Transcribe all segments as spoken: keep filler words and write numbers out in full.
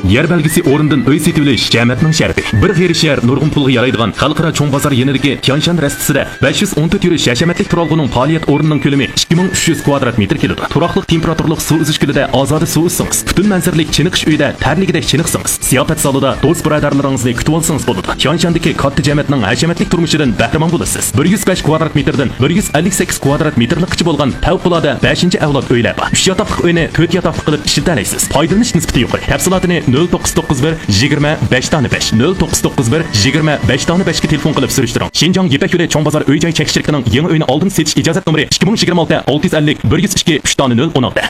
يەر بەلگىسى ئورنىدىن ئۆي سېتىۋېلىش جەمەتنىڭ شەرىپى. بىر غېرىب شەھەر نۇرغۇن پۇلغا يارايدىغان خەلقئارا چوڭ بازار يېنىدىكى تيانشان رەستىسىدە بەش يۈز ئون تۆت يۈرۈش ھەشەمەتلىك تۇرالغۇنىڭ پائالىيەت ئورنىنىڭ كۆلىمى ئىككى مىڭ ئۈچ يۈز كۋادرات مېتىر كېلىدۇ. تۇراقلىق تېمپېراتۇرىلىق سۇ ئۈزۈش كۆلىدە ئازادە سۇ ئۈزسىڭىز، پۈتۈن مەنزىرىلىك چېنىقىش ئۆيىدە تەرلىگۈدەك چېنىقسىڭىز، زىياپەت زالىدا دوست بۇرادەرلىرىڭىزنى كۈتۈۋالسىڭىز بولىدۇ. تيانشاندىكى كاتتا جەمەتنىڭ ھەشەمەتلىك تۇرمۇشىدىن بەھرىمەن بولىسىز. بىر يۈز بەش كۋادرات مېتىردىن بىر يۈز ئەللىك سەككىز كۋادرات مېتىرلىققىچە بولغان پەۋقۇلئاددە بەشىنچى ئەۋلاد ئۆيلەر بار. ئۈچ ياتاقلىق ئۆينى تۆت ياتاقلىق قىلىپ ئىشلىتەلەيسىز. پايدىلىنىش نىسبىتى يۇقىرى. تەپسىلاتىنى نۆل توققۇز توققۇز بىر يىگىرمە بەش دانە بەش، نۆل توققۇز توققۇز بىر يىگىرمە بەش دانە بەشكە تېلېفون قىلىپ سۈرۈشتۈرۈڭ. شىنجاڭ يىپەك يولى چوڭ بازار ئۆي جاي چەكلىك شىركىتىنىڭ يېڭى ئۆينى ئالدىن سېتىش ئىجازەت نومۇرى ئىككى مىڭ يىگىرمە ئالتە ئالتە يۈز ئەللىك بىر يۈز ئىككى ئۈچ دانە نۆل ئون ئالتە.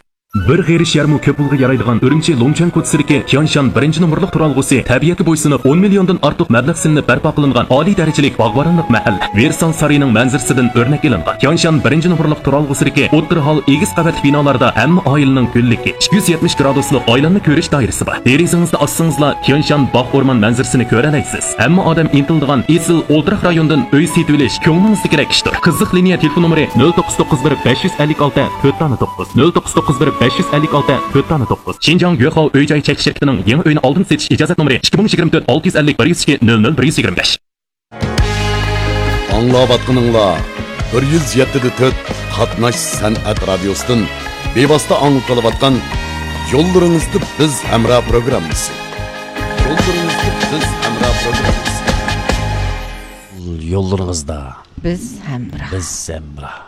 بىر غېرىب شەھەرمۇ كۆپ پۇلغا يارايدىغان ئۈرۈمچى لۇڭچۈەن كوچىسىدىكى تيانشان بىرىنچى نومۇرلۇق تۇرالغۇسى تەبىئەتكە بويسۇنۇپ، ئون مىليوندىن ئارتۇق مەبلەغ سېلىنىپ بەرپا قىلىنغان ئالىي دەرىجىلىك باغۋەنلىك مەھەللە، ۋېرسال سارىيىنىڭ مەنزىرىسىدىن ئۆرنەك ئېلىنغان. تيانشان بىرىنچى نومۇرلۇق تۇرالغۇسىدىكى ئوتتۇرا ھال ئېگىز قەۋەتلىك بىنالاردا ھەممە ئائىلىنىڭ گۈللۈكى، ئىككى يۈز يەتمىش گرادۇسلۇق ئايلانما كۆرۈش دائىرىسى بار. دېرىزىڭىزنى ئاچسىڭىزلا تيانشان باغ ئورمان مەنزىرىسىنى كۆرەلەيسىز. ھەممە ئادەم ئىنتىلىدىغان ئېسىل ئولتۇراق رايونىدىن ئۆي سېتىۋېلىش كۆڭلىڭىزدىكىدەك ئىشتۇر. قىزىق لىنىيە تېلېفون نومۇرى نۆل توققۇز توققۇز بىر بەش يۈز ئەللىك ئالتە تۆت دانە توققۇز، نۆل توققۇز توققۇز بىر بەش يۈز ئەللىك ئالتە تۆت دانە توققۇز. شىنجاڭ يۆخاۋ ئۆي جاي چەكلىك شىركىتىنىڭ يېڭى ئۆينى ئالدىن سېتىش ئىجازەت نومۇرى ئىككى مىڭ يىگىرمە تۆت ئالتە يۈز ئەللىك بىر يۈز ئىككى نۆل نۆل بىر يۈز يىگىرمە بەش. ئاڭلاۋاتقىنىڭلار بىر يۈز يەتتە دە تۆت قاتناش سەنئەت رادىيوسىدىن بىۋاسىتە ئاڭلىتىلىۋاتقان يوللىرىڭىزدا بىز ھەمراھ پروگراممىسى. يوللىرىڭىزدا بىز ھەمراھ پروگراممىسى. يوللىرىڭىزدا بىز ھەمراھ. بىز ھەمراھ.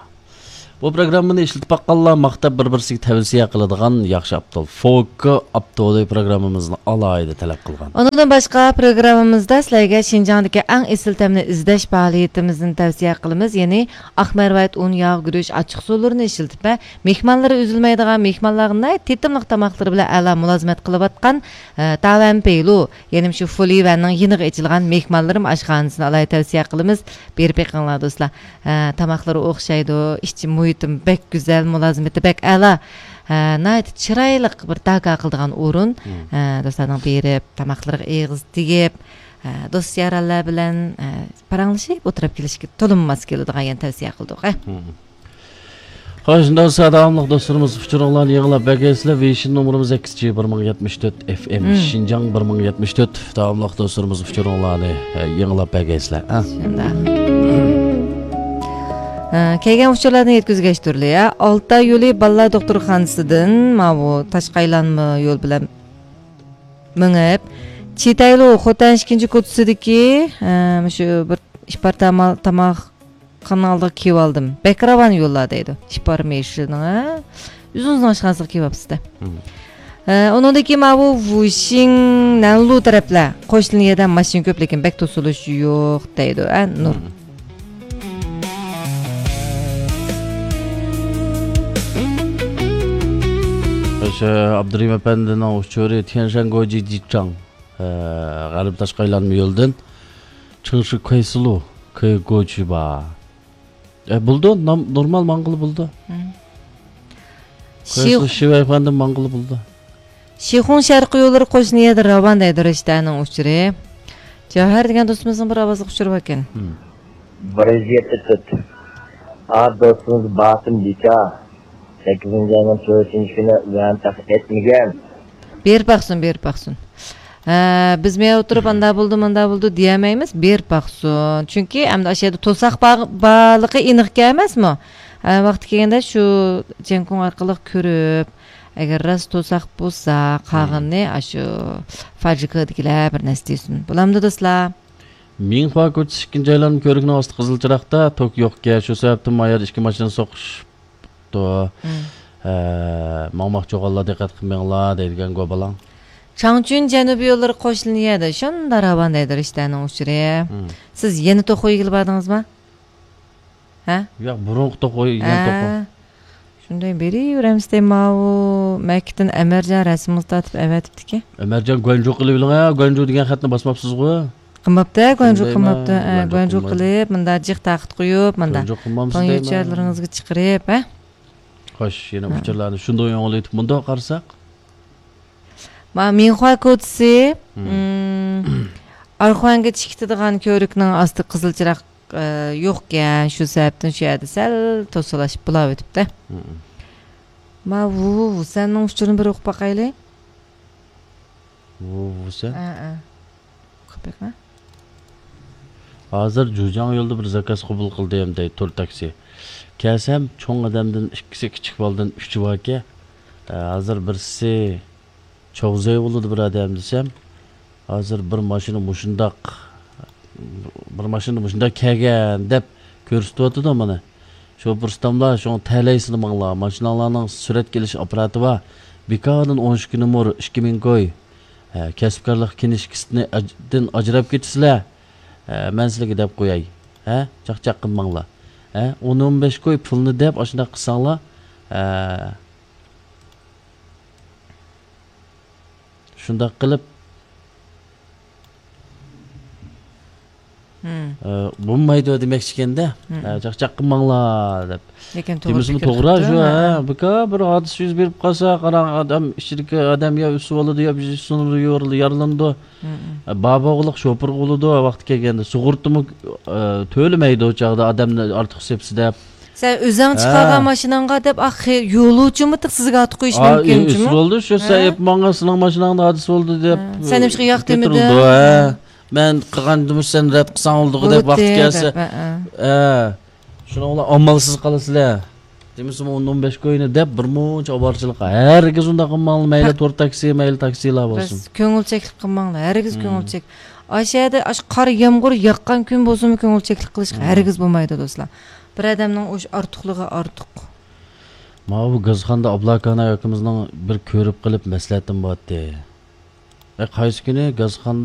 بۇ پروگراممىنى ئىشلىتىپ باققانلار ماختاپ بىر-بىرسىگە تەۋسىيە قىلىدىغان ياخشى ئاپتول، فوكا ئاپتولى پروگراممىمىزنى ئالاھىدە تەلەپ قىلغان. ئۇنىڭدىن باشقا، پروگراممىمىزدا سىلەرگە شىنجاڭدىكى ئەڭ ئېسىل تەمنى ئىزدەش پائالىيىتىمىزنى تەۋسىيە قىلىمىز. يەنى ئاق مەرۋايىت ئۇن، ياغ، گۈرۈچ، ئاچچىق سۇلىرىنى ئىشلىتىپ ۋە مېھمانلىرى ئۈزۈلمەيدىغان، مېھمانلارغا ناھايىتى تېتىملىق تاماقلىرى بىلەن ئەلا مۇلازىمەت قىلىۋاتقان، ئە، تاۋەن پېيلۇ، يەنى شۇ فۇلىۋەننىڭ يېنىغا ئېچىلغان مېھمانلىرىم ئاشخانىسىنى ئالاھىدە تەۋسىيە قىلىمىز. بېرىپ بېقىڭلار، دوستلار. ھە، تاماقلىرى ئوخشايدۇ، ئىچ مۇھىتىمۇ بەك گۈزەل، مۇلازىمىتى بەك ئەلا. ھە، ناھايىتى چىرايلىق بىر داكا قىلىدىغان ئورۇن. مم. ھە، دوستلارنىڭ بېرىپ، تاماقلىرىغا ئېغىز تېگىپ، ھە، دوست يارانلار بىلەن، ھە، پاراڭلىشىپ ئولتۇرۇپ كېلىشكە تولىمۇ ماس كېلىدىغان يەنە تەۋسىيە قىلدۇق، ھە. مم. خوش، شۇنداق بولسا، داۋاملىق دوستلىرىمىز ئۇچۇرۇڭلارنى يېڭىلاپ بەرگەيسىلەر. ۋېيشىن نومۇرىمىز ئەكس جى بىر مىڭ يەتمىش تۆت ئېف ئېم، مم. شىنجاڭ بىر مىڭ يەتمىش تۆت. داۋاملىق دوستلىرىمىز ئۇچۇرۇڭلارنى، ئە، يېڭىلاپ بەرگەيسىلەر، ئە. شۇنداق. ئە، كەلگەن ئۇچۇرلاردىن يەتكۈزگەچ تۇرلى، ئە. ئالتاي يولى بالىلار دوختۇرخانىسىدىن ماۋۇ تاشقا ئايلانما يول بىلەن مېڭىپ، چىتەيلۇ خوتەن ئىككىنچى كوچىسىدىكى، ئە، مۇشۇ بىر ئىپار تاما-، تاماق خانىنىڭ ئالدىغا كېلىۋالدىم. بەك راۋان يوللار دەيدۇ. ئىپار مېشىنىڭ، ھە؟ ئۆزىڭىزنىڭ ئاشخانىسىغا كېلىۋاپسىز-دە. مم. ھە، ئۇنىڭدىن كېيىن ماۋۇ ۋۇشىڭ، نەنلۇ تەرەپلەر. قوشنا يەردە ماشىنا كۆپ، لېكىن بەك توسۇلۇش يوق دەيدۇ، ھە، نۇر. مم. ئاشۇ ئابدۇرېھىم ئەپەندىنىڭ ئۇچۇرى تيەنشەن گوجى جىچاڭ، ھە، غەربىي تاشقى ئايلانما يولدىن چىڭشى كۇەيسىلۇ كۇەيگوجى بار. ئە، بولىدۇ، نام-، نورمال ماڭغىلى بولىدۇ. مم. شىخ-، شىۋەيفەندىن ماڭغىلى بولىدۇ. شىخۇڭ شەرقىي يوللىرى قوشنا يەردە راۋان دەيدۇ رىشتەنىڭ ئۇچۇرى. جەۋھەر دېگەن دوستىمىزنىڭ بىر ئاۋازلىق ئۇچۇرى باركەن. مم. بىر يۈز يەتتە تۆت. ئا، دوستىمىز باسىم بىكا. سەككىزىنچى ئاينىڭ تۆتىنچى كۈنى ۋەن تەخت ئەتمىگەن. بېرىپ باقسۇن، بېرىپ باقسۇن. ھە، بىز مەن ئولتۇرۇپ، ئاندا بولدى، ماندا بولدى دېيەلمەيمىز، بېرىپ باقسۇن. چۈنكى ئەمدى ئاشۇ يەردە توساق بار-، بارلىقى ئېنىق ئەمەسمۇ؟ ھە، ۋاقتى كەلگەندە شۇ جيەنكۇڭ ئارقىلىق كۆرۈپ، ئەگەر راست توساق بولسا، قالغىنىنى ئاشۇ فاجىكىدىكىلەر بىر نەرسە دېسۇن. بولامدۇ، دوستلار؟ مىڭخۇا كوچىسى ئىككىنچى ئايلانما كۆۋرۈكنىڭ ئاستى قىزىل چىراغدا، توك يوقكەن، شۇ سەۋەبتىن ما يەردە ئىككى ماشىنا سوقۇشۇپتۇ. مم. ھە، ماڭماقچى بولغانلار دىققەت قىلماڭلار دەيدىكەن گوبالاڭ. چاڭچۈن جەنۇبىي يوللىرى قوشنا يەردە، شۇنداق راۋان دەيدۇ رىشتەنىڭ ئۇچۇرى. مم. سىز يەنە توخۇ يېگىلى باردىڭىزمۇ؟ ھە؟ ياق، بۇرۇنقى توخۇ، يەنە ھە. توخۇ. شۇنداق بېرىۋېرەمسىز دەي، ماۋۇ مەككىدىن ئەمەرجان رەسىمىڭىزنى تارتىپ ئەۋەتىپتىكەن. ئەمەرجان گۇەنجۇ قىلىۋېلىڭ ھە، گۇەنجۇ دېگەن خەتنى باسماپسىزغۇ. قىلماپتۇ، گۇەنجۇ قىلماپتۇ، ھە، گۇەنجۇ قىلىپ، مۇنداق جىق تاختا قويۇپ، مۇنداق گۇەنجۇ قىلمامسىز دەيمەن. پاڭيۈچەرلىرىڭىزگە چىقىرىپ، ھە؟ خوش، يەنە ھە. ئۇچۇرلارنى شۇنداق ياڭلىتىپ مۇنداق قارىساق. ما، مىڭخۇا كوچىسى، مم. مم، ئارخۇەنگە چىقىدىغان كۆۋرۈكنىڭ ئاستى قىزىل چىراغ ئە، يوقكەن، شۇ سەۋەبتىن شۇ يەردە سەل توسۇلاشىپ بولاۋېتىپتۇ. مم. ما، ۋۇ، ۋۇ، سەننىڭ ئۇچۇرىنى بىر ئوقۇپ باقايلى. ۋۇ، ۋۇ سەن. ھە، ھە. قوپۇپ بېقىڭ. ھازىر جۇجاڭ يولدا بىر زاكاز قوبۇل قىلدىم دەيدۇ تور تاكسى. كەلسەم چوڭ ئادەمدىن ئىككىسى، كىچىك بالىدىن ئۈچى باركەن. ھازىر بىرسى چاۋزەي بولىدۇ بىر ئادەم دېسەم، ھازىر بىر ماشىنا مۇشۇنداق، بىر ماشىنا مۇشۇنداق كەلگەن دەپ كۆرسىتىۋاتىدۇ مانا. شوپۇر ئۇستاملار، شۇڭا تەلەي سىنىماڭلار. ماشىناڭلارنىڭ سۈرەتكە ئېلىش ئاپپاراتى بار. بىكاردىن ئون ئىككى نومۇر، ئىككى مىڭ كوي. ھە، كەسىپكارلىق كىنىشكىسىدىن ئاج-، دىن ئاجراپ كېتىسىلەر. ھە، مەن سىلەرگە دەپ قوياي. ھە، چاقچاق قىلماڭلار. ھە، ئون، ئون بەش كوي پۇلنى دەپ ئاشۇنداق قىلساڭلار. ھە، شۇنداق قىلىپ، مم. ئە، بولمايدۇ دېمەكچىكەندە. مم. ئە، چاقچاق قىلماڭلار دەپ. لېكىن توغرا دېمىسىمۇ پىكىر توغرا قىپتۇ، شۇ، ھە. ھە. بىكار بىر ھادىسە يۈز بېرىپ قالسا، قاراڭ، ئادەم ئىچىدىكى ئادەم يا ئۆسۈۋالىدۇ، يا بىر سۇنىدۇ، يارىلىنىدۇ. مم. ئە، بار بولغۇلۇق شوپۇرغا بولىدۇ، ۋاقتى كەلگەندە. سۇغۇرتىمۇ، ئە، تۆلىمەيدۇ ئۇ چاغدا ئادەمنى ئارتۇق سېپسە دەپ. سەن ئۆزۈڭ ھە. چىقارغان ماشىناڭغا دەپ، ئاخ، يولۇچىمۇ تىق سىزگە ئارتۇق قويۇش ئا، مۇمكىن ئۆسۈۋالدى شۇ، سەن ھە. ئېيىپ ماڭغان سېنىڭ ماشىناڭدا ھادىسە بولدى دەپ، ھە. سەن نېمىشقا ياق دېمىدىڭ؟ كۆتۈرۈلدى، ھە. ھە. مەن قىلغاندىمۇ سەن رەت قىلساڭ بولدىغۇ دەپ ۋاقتى بولدى كەلسە. دەپ، ھە، ھە. ھە. شۇنىڭ بىلەن ئامالسىز قالىسىلەر. دېمىسىمۇ ئون، ئون بەش كوينى دەپ بىر مۇنچە ئاۋارىچىلىق. ھەرگىز ئۇنداق قىلماڭلار. مەيلى ھە. تور تاكسى، مەيلى تاكسىلار بولسۇن. بەس، كۆڭۈلچەكلىك قىلماڭلار. ھەرگىز مم. كۆڭۈلچەك. ئاشۇ يەردە ئاش-، قار يامغۇر ياغقان كۈن بولسىمۇ كۆڭۈلچەكلىك قىلىش مم. ھەرگىز بولمايدۇ، دوستلار. بىر ئادەمنىڭ ئوش-، ئارتۇقلۇقى ئارتۇق. ماۋۇ گازخانىدا ئابلاكان ئاكىمىزنىڭ بىر كۆرۈپ قېلىپ مەسلىھەتىم بارتتى. ئە، قايسى كۈنى گازخانىدا